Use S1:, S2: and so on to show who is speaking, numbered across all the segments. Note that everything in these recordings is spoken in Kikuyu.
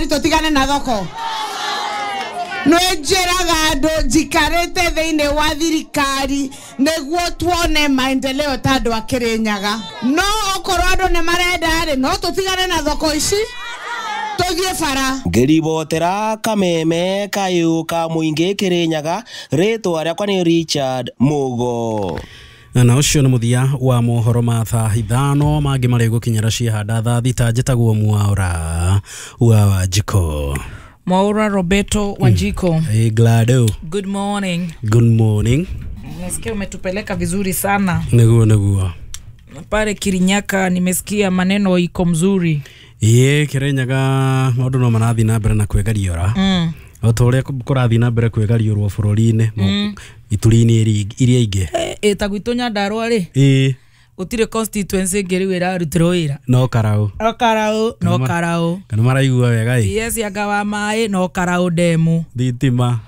S1: Thirikari tũtigane na thoko. Nĩnjĩraga andũ njikarĩte thĩinĩ wa thirikari nĩguo tuone maendeleo ta andũ a Kirinyaga. No okorwo andũ nĩ marenda rĩ, no tũtigane na thoko ici tũthiĩ bara.
S2: Ngĩribotera kameme kayũ ka mũingĩ Kirinyaga, rĩtwa rĩakwa nĩ Richard Mugo.
S3: Na ũcio nĩ mũthia wa mohoro ma thaa 5 mangĩ marĩ gũkinyĩra ciahanda thaa 6. Njĩtagwo Mwaura wa Wanjiko.
S4: Mwaura Roberto Wanjiko.
S3: Hey, Glado.
S4: Good morning.
S3: Good morning.
S4: Nimesikia umetupeleka vizuri sana.
S3: Niguo niguo.
S4: Pale Kirinyaka nimesikia maneno iko mzuri.
S3: Ĩĩ, Kirinyaga maũndũ no marathiĩ na mbere na kwĩgariũra. O ta ũrĩa kũrathiĩ na mbere kwĩgariũrwo bũrũri-inĩ, ituri-inĩ iria ingĩ.
S4: Ta gwitũ Nyandarua rĩ.
S3: Ĩĩ.
S4: Gũtirĩ constituency ĩngĩ rĩu ĩrarutĩrwo wĩra.
S3: No Karau.
S4: No Karau, no Karau.
S3: Kana maraigua wega ĩ.
S4: Yes, anga wa maĩ no Karau demu.
S3: Thitima.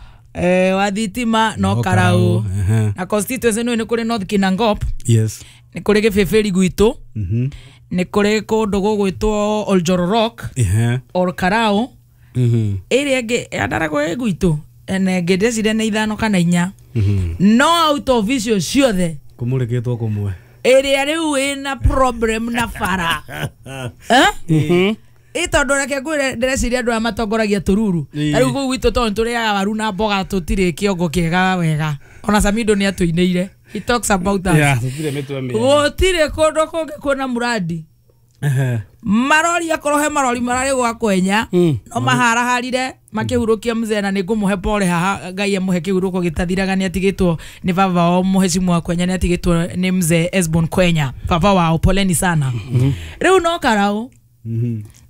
S4: Wa thitima no Karau. Na constituency nĩ kũrĩ North Kinangop.
S3: Yes.
S4: Nĩ kũrĩ Gĩbĩbĩri gwitũ. Nĩ kũrĩ kũndũ gũgwĩtwo Oljororok. Or Karau. Ĩrĩa ĩngĩ yandaragwo ĩ gwitũ. Na ĩngĩ ndĩreciria nĩ 5 kana 4. No out of icio ciothe
S3: kũmũrĩkĩtwo kũmwe.
S4: Ĩrĩa rĩu ĩna problem na bara. Ĩ tondũ reke ngwĩre ndĩreciria andũ aya matongoragia tũruru. Ta rĩu kũu gwitũ tondũ tũrĩaga waru na mboga tũtirĩ kĩongo kĩega wega. Ona Samido nĩ atũinĩire. He talks about us.
S5: Yeah, tũtirĩ mĩtwe mĩega.
S4: Gũtirĩ kũndũ kũngĩ kwĩna mũrandi. Marori akorwo he marori mararĩ gwa kwenya no maharaharire makĩhurũkia mzee na nĩngũmũhe pole haha. Ngai amũhe kĩhurũko gĩtathiraga. Nĩ atigĩtwo nĩ baba wao mũhecimu wa Kwenya, nĩ atigĩtwo nĩ mzee Esbon Kwenya baba wao, poleni sana. Rĩu no Karau.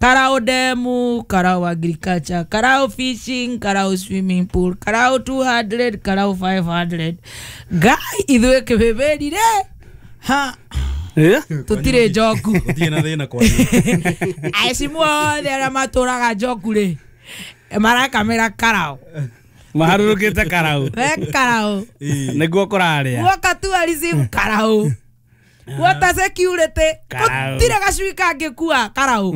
S4: Karau demu, Karau agriculture, Karau fishing, Karau swimming pool, Karau 200, Karau 500. Ngai ithuĩ kĩbĩbĩri rĩ ha tũtirĩ njoku.
S3: Gũtirĩ na thĩna kwanyu.
S4: Aecimu othe arĩa matũraga njoku rĩ marakamĩra Karau.
S5: Maharũrũkĩte Karau.
S4: Me Karau.
S5: Nĩguo kũrarĩa.
S4: Guoka tourism Karau. Water security. Gũtirĩ gacui kangĩkua Karau.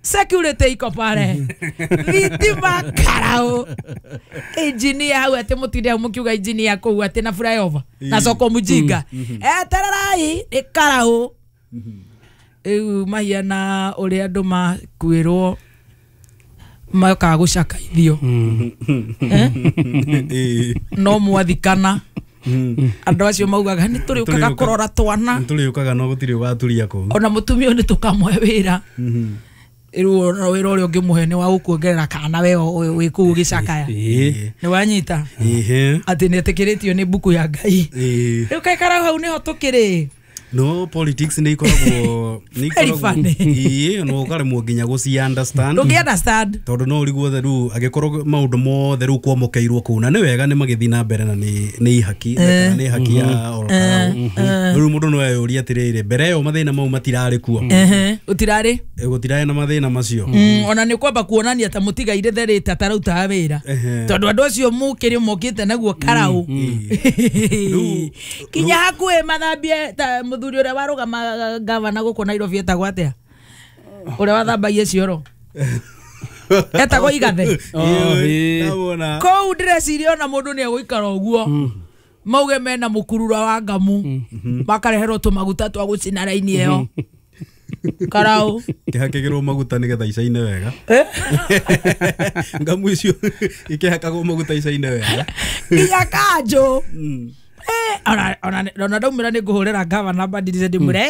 S4: Security iko pale. Thitima Karau. Engineer hau atĩ mũtinde hau mũkiuga engineer kũu atĩ na flyover na soko mujinga. Etererai nĩ Karau. Rĩu mahiana ũrĩa andũ makuĩrwo mayokaga gũcakaithio. No mwathikana. Andũ acio maugaga nĩ tũrĩũkaga kũrora twana.
S3: Nĩ tũrĩũkaga no gũtirĩ ũgaturia kũu.
S4: Ona mũtumia ũyũ nĩ tũkamũhe wĩra. Rĩu ona wĩra ũrĩa ũngĩmũhe nĩ wa gũkuongerera kana we wĩ kũu ũgĩcakaya. Nĩ wanyita? Atĩ nĩ etĩkĩrĩtio nĩ mbuku ya Ngai. Rĩu kaĩ Karau hau nĩho tũkĩrĩ.
S3: No politics nĩ ikoragwo ĩĩ, no ũkaremwo nginya gũci understand.
S4: Ndũngĩ understand.
S3: Tondũ no ũrigwo rĩu angĩkorwo maũndũ mothe rĩu kwamũkĩirwo kũu na nĩ wega nĩ magĩthiĩ na mbere na nĩ ihaki kana nĩ haki ya oro Karau. Rĩu mũndũ no eyũrie atĩrĩrĩ, mbere ĩyo mathĩna mau matirarĩ kuo.
S4: Gũtirarĩ.
S3: Gũtirarĩ na mathĩna macio.
S4: Ona nĩ kwamba kuonania ta mũtigaire therĩte atarutaga wĩra. Tondũ andũ acio mũkĩrĩ mokĩte naguo Karau. Kinya hakuhĩ mathambie ta mũthuri ũrĩa warũgama gavana gũkũ Nairobi etagwo atĩa? Ũrĩa wathambagia cioro. Etagwo Igathe. Kũu ndĩreciria ona mũndũ nĩ egũikara ũguo. Mauge mena mũkurura wa ngamu. Makareherwo tũmaguta twa gũcina raini ĩyo. Karau.
S3: Kĩhakĩgĩrwo maguta nĩgetha icaine wega. Ngamu icio ikĩhakagwo maguta icaine wega.
S4: Nginya kanjũ. Ona ndaumĩra nĩ ngũhũrĩra gavana Mbadirise ndĩmwĩre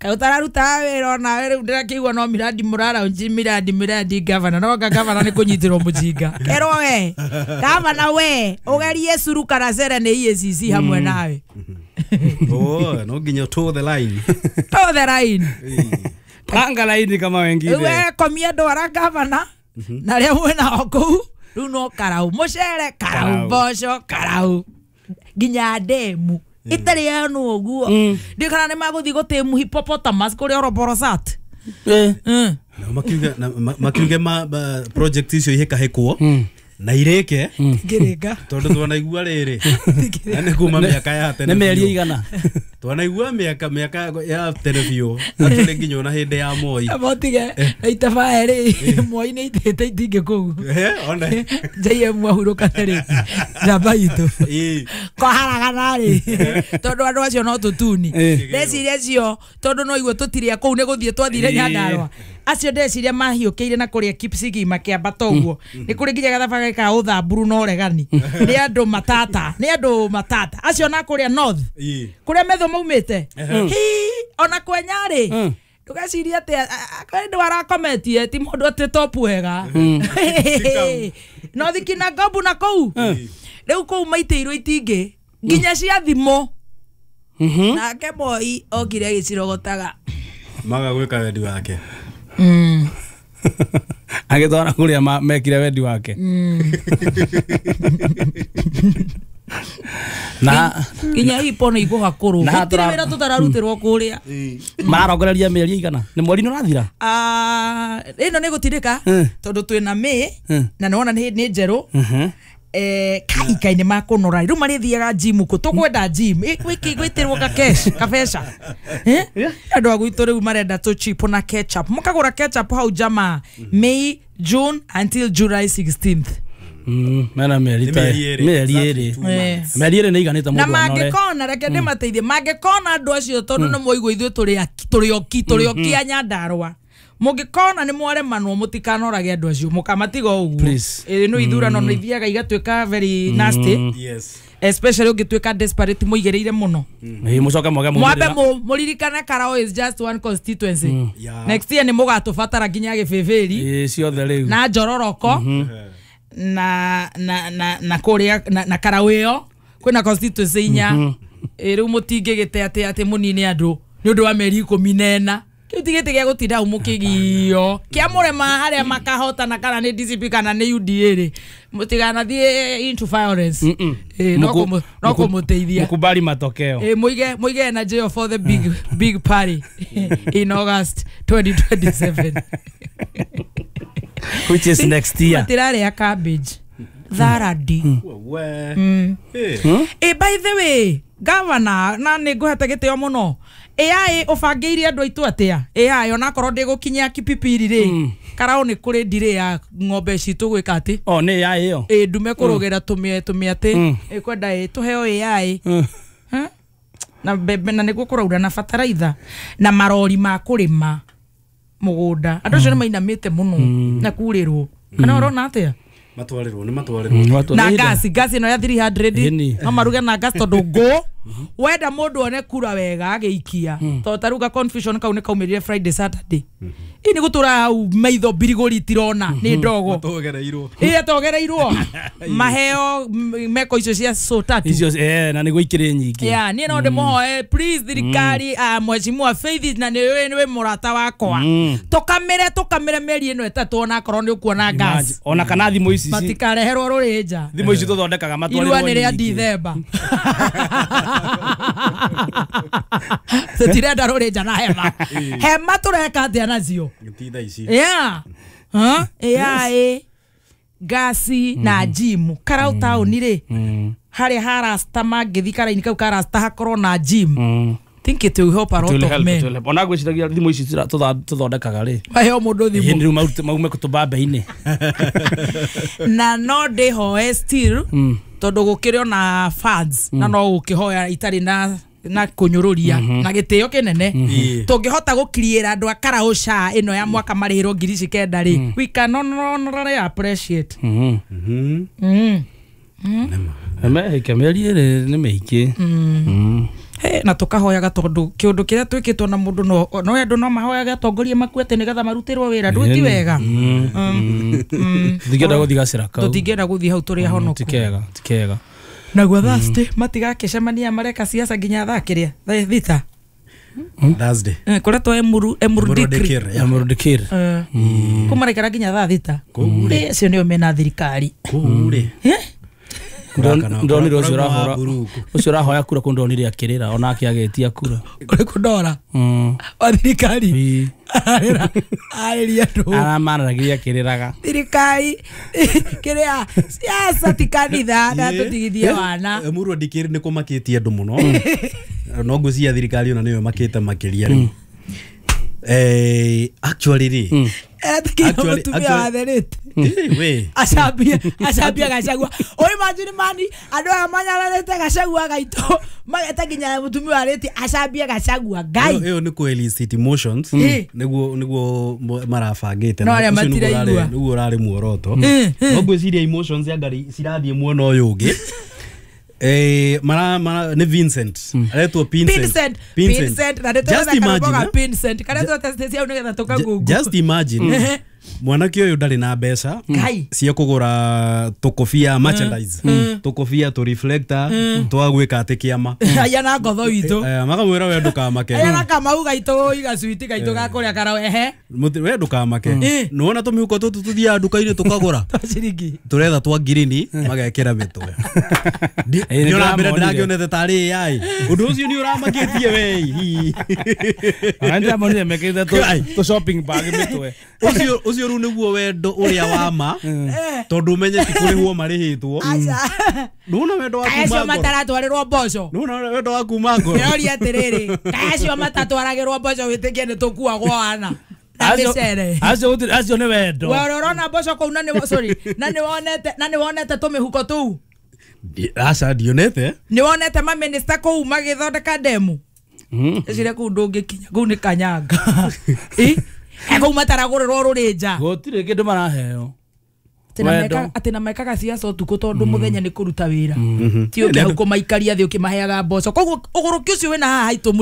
S4: kaĩ ũtararutaga wĩra onawe rĩu ndĩrakĩigua no miradi mũraraunji miradi miradi gavana no anga gavana nĩ kũnyitĩrwo mũjinga. Kerwo we gavana we ũgerie curu kana cere nĩ EACC hamwe nawe.
S3: Oh, no nginya toe the line.
S4: Toe the line.
S5: Panga laini kama wengine.
S4: We komia ndwara gavana na arĩa mwĩnao kũu rĩu no Karau mũcere Karau mboco Karau nginya demu itarĩ yanwo ũguo. Ndiũ kana nĩ magũthiĩ gũtĩmu hippopotamus kũrĩa Oroborosat.
S3: Makiuge project icio ihĩkahĩkwo na irĩke
S4: Ngĩrĩka
S3: tondũ twanaigua rĩrĩ na nĩ kuma mĩaka ya tene
S5: Nĩ mĩeri igana.
S3: Twanaigua miaka ya tene biũ atũrĩ nginya ona hĩndĩ ya Moi.
S4: Motige na itaba rĩ Moi nĩ itĩte itingĩ kũu.
S3: One.
S4: JM ahurũkane rĩ njamba itũ. Koharagana rĩ tondũ andũ acio no tũtuni. Ndeciria acio tondũ no igua tũtirĩ kũu nĩ gũthiĩ twathire Nyandarũa. Acio ndeciria mahiũkĩire na kũrĩa Kipsigi makĩambata ũguo. Nĩ kũrĩ nginya gathabarĩ ka ũthamburu na ũregani. Nĩ andũ matata, nĩ andũ matata. Acio na kũrĩa North. Kũrĩa metho maumĩte. Hi ona kwenya rĩ. Ndũgecirie atĩ andũ arakometie ti mũndũ atĩ top wega. No thikina ngobu na kũu. Rĩu kũu maitĩirwo itingĩ nginya cia thimũ. Nake Moi okire agĩcirogotaga.
S3: Maga gwĩka wendi wake.
S5: Agĩtwara kũrĩa mekire wendi wake. Na
S4: nginya ipo nĩ igũhakũrwo. Gũtirĩ wĩra tũtararutĩrwo kũrĩa.
S5: Mararongoreria mĩeri igana? Nĩ mweri nĩ ũrathira?
S4: Ĩno nĩ gũtindĩka tondũ twĩna May na nĩwona nĩ njerũ. Kai-inĩ makũnora rĩu marĩthiaga gym kũ tũkwenda gym gwĩtĩrwo ka cash kabeca. Andũ a gwitũ rĩu marenda tũ chip na ketchup mũkagũra ketchup hau jamaa May, June until July 16th.
S5: Mena mĩeri ĩrĩ. Mĩeri ĩrĩ nĩ iganĩte mũndũ
S4: anore. Na mangĩkona reke ndĩmateithie mangĩkona andũ acio tondũ nĩ mwaigua ithuĩ tũrĩ oki a Nyandarũa. Mũngĩkona nĩ mwaremanwo mũtikanorage andũ acio mũkamatiga ũguo. Ĩno ithurano nĩ ithiaga igatuĩka very nasty.
S3: Yes.
S4: Especially ũngĩtuĩka desperate mũigĩrĩire mũno.
S5: Mũcoke mwage
S4: mwambe mũririkane Karao is just one constituency. Next year nĩ mũgatũbatara nginya Gĩbĩbĩri.
S5: Ciothe rĩu.
S4: Na Njororoko. Na na na na kũrĩa na Karao ĩyo kwĩna constituency inya. Rĩu mũtingĩgĩte atĩ mũnine andũ nĩ ũndũ wa mĩeri 14. Kĩu ti gĩtĩ gĩa gũtinda hau mũkĩgio kĩa mũrema harĩa makahotana kana nĩ DCP kana nĩ UDA rĩ mũtiganathiĩ into violence. No kũmũteithia
S5: mkubali matokeo.
S4: Mũige energy for the big party in August 2027
S5: which is next year.
S4: Matirarĩa cabbage tharadi. By the way governor na nĩ ngũhete gĩtĩo mũno. AI ũbangĩire andũ aitũ atĩa? AI onakorwo ndĩgũkinyia Kipipiri rĩ Karao nĩ kũrĩ ndirĩ ya ng'ombe citũ gwĩka atĩ.
S5: O nĩ AI ĩyo.
S4: Ndume kũrũgĩra tũmĩatĩ ĩkwenda tũheo AI. Na mbembe na nĩguo kũraura na bataraitha na marori ma kũrĩma mũgũnda. Andũ acio nĩ mainamĩte mũno na kurĩrwo. Kana ũrona atĩa?
S3: Matwarĩrwo nĩ matwarĩrwo.
S4: Na gasi ĩno ya 300 no maruge na gas tondũ ngũ wenda mũndũ one kura wega agĩikia tondũ ta rĩu ga confusion kau nĩ kaumĩrire Friday Saturday. Ĩ nĩ gũtũra hau maitho mbirigũri itirona nĩ ndogo.
S3: Matogereirwo.
S4: Atogereirwo. Maheo meko icio cia so tatu.
S5: Icio na nĩguo ikĩrĩ nyingĩ.
S4: Yeah, niĩ no ndĩmũhoe please thirikari mheshimiwa Faith na nĩ wĩ mũrata wakwa. Tũkamĩre mĩeri ĩno ĩtatũ onakorwo nĩ ũkuona gas.
S5: Ona kana thimũ ici
S4: matikareherwo rũrĩnja.
S5: Thimũ ici tũthondekaga matwarĩrwo.
S4: Irua nĩ rĩa Dithemba. Tũtirenda rũrĩnja na hema. Hema tũreka atĩa nacio?
S3: Ti thaa ici.
S4: Yeah. AI gasi na gym. Karau taũni rĩ harĩa ha rasta mangĩthi karaini kau ka rasta hakorwo na gym. Think it will help a lot of men.
S5: Ona ngwĩciragia thimũ ici tũthondekaga rĩ.
S4: Maheo mũndũ thimũ.
S5: Rĩu maume kũtũmbambe-inĩ.
S4: Na no ndĩhoe still tondũ gũkĩrĩ ona fans na no gũkĩhoya itarĩ na kũnyũrũria na gĩtĩo kĩnene. Tũngĩhota gũkiriĩra andũ a Karao SHA ĩno ya mwaka marĩhĩrwo 9,000 rĩ we can honorably appreciate.
S5: Mĩeri ĩrĩ nĩ mĩingĩ.
S4: Na tũkahoyaga tondũ kĩũndũ kĩrĩa twĩkĩtwo na mũndũ no andũ no mahoyaga atongoria makuete nĩgetha marutĩrwo wĩra ndũ ti wega.
S5: Tũtingĩenda gũthiĩ gacĩra kau.
S4: Tũtingĩenda gũthiĩ hau tũrĩ ahonoku.
S5: Ti kega.
S4: Naguo Thursday matigakĩcemania mareka siasa nginya thaa kĩrĩa thaa thita.
S3: Thursday.
S4: Kũrĩa Emurudikir. Kũu maraikara nginya thaa thita. Acio nĩo mena thirikari.
S3: Kũu rĩ.
S5: Ndonire ucio urahora ucio urahoya kura ku ndonire akirira onake agetia kura
S4: uri kundora wa thirikari ararira ariria andu
S5: aramararagiria akiriraga
S4: thirikari kiria siasa ti kanitha na tutigithie wana
S3: Emurua Dikir ni kumakitie andu muno no ngwiciria thirikari ona niyo makite makiria riu actually ri
S4: actually we acambia Gachagua o imagine mani andu aya manyararite Gachagua gaito mageta nginya mutumia wariti acambia Gachagua ngai
S3: iyo ni ku elicit emotions niguo marabangite
S4: na
S3: niguo urari muoroto no ngwiciria emotions ya ngari cirathie mwena uyu ungi mara ni Vincent aretwo Vincent
S4: Vincent na
S3: just imagine
S4: Vincent kana tu test cia nigetha tuka Google
S3: just imagine mwanake uyu ndari na mbeca cia kugura tukobia merchandise tukobia tu reflector twa gwika ati kiama
S4: aya na ngotho itu
S3: makamwira we ndukamake
S4: aya na kamau gaitu iga switi gaitu ga kuria karawehe
S3: we ndukamake nuona tumihuko tutu tuthiaga nduka-ini tukagura
S4: ciringi
S3: turetha twa ngirini magekira mitwe ndiona mbere ndiragionete tari AI undu ucio ni uramakitie we
S5: andiamonire mekirite tu shopping bag mitwe
S3: ucio riu niguo wendo uria wa ma tondu umenye ti kurihwo marihitwo nuona wendo wa kuma
S4: acio mataratwarirwo mboco
S3: nuona wendo wa kuma ngoro
S4: ndĩroria atiriri kaĩ acio matatwaragĩrwo mboco wĩtĩkie nĩ tũkuagwo wana na mĩcere
S5: acio nĩ wendo
S4: we ũrĩa ũrona mboco kũu na nĩ sorry na nĩ wonete tũmĩhuko tũu
S3: aca ndionete
S4: nĩ wonete maminista kũu magĩthondeka ndemu ĩcire kũu ndũngĩkinya kũu nĩ kanyanga kũu mataragũrĩrwo rũrĩnja
S5: gũtirĩ kĩndũ maraheo
S4: atĩ na mekaga ciaca ũtukũ tondũ mũthenya nĩ kũruta wĩra ti ũke hau kũmaikaria thĩ ũkĩmaheaga mboco koguo ũgũrũki ũcio wĩna haha haitũ mũrĩ